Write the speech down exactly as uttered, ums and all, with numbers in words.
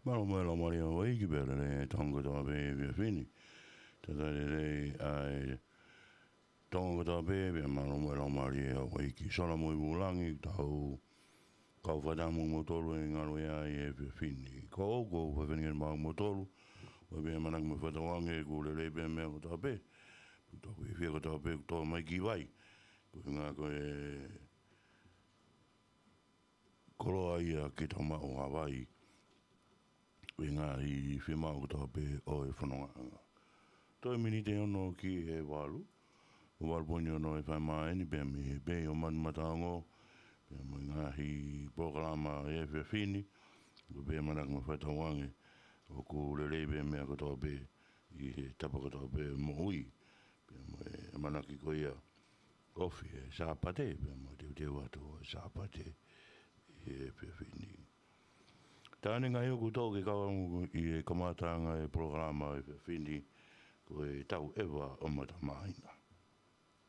Mālō mo e laumālie ʻa Haʻapai ki pea lelei e Tonga kotoa pē he efiafi ni. Talitali lelei ʻa e Tonga kotoa pē, pea mālō mo e laumālie ʻa Haʻapai ki Sola mo e Vulangi, tau kau fakataha mo kimoutolu he ngalo ia ʻi he efiafi ni. Ko au, ko Fefeni Ngeni Mau kimoutolu, ʻoku pehē ʻamanaki mo fakatauange ʻoku lelei pē meʻa kotoa pē, ʻoku tau fiefia kotoa pē, ʻoku tau mai ki vai. Ko e ngā ko e koloa ia ke tau maʻu ha vai ʻi he ngaahi fiemaʻu kotoa pē ʻo e fonongaʻanga. Toe miniti ʻe ono ki he valu, ʻo valu poini ono e fai mai eni pea mei he pei ʻo Manu Mataongo, pea mo e ngaahi polokalama ʻi he efiafi ni, ʻoku pehē ʻamanaki mo fakatauange ʻoku lelei pē meʻa kotoa pē ʻi he tapa kotoa pē moʻui, pea mo e ʻamanaki ko ia ofi e Sāpate, pea mo e teuteu atu e Sāpate ʻi he efiafi ni. Tā eni ngaahi ʻoku tau ke kau ʻi he kamataʻanga e polokalama ʻi he efiafi ni, ko e Tauʻeva ʻo Matamāina.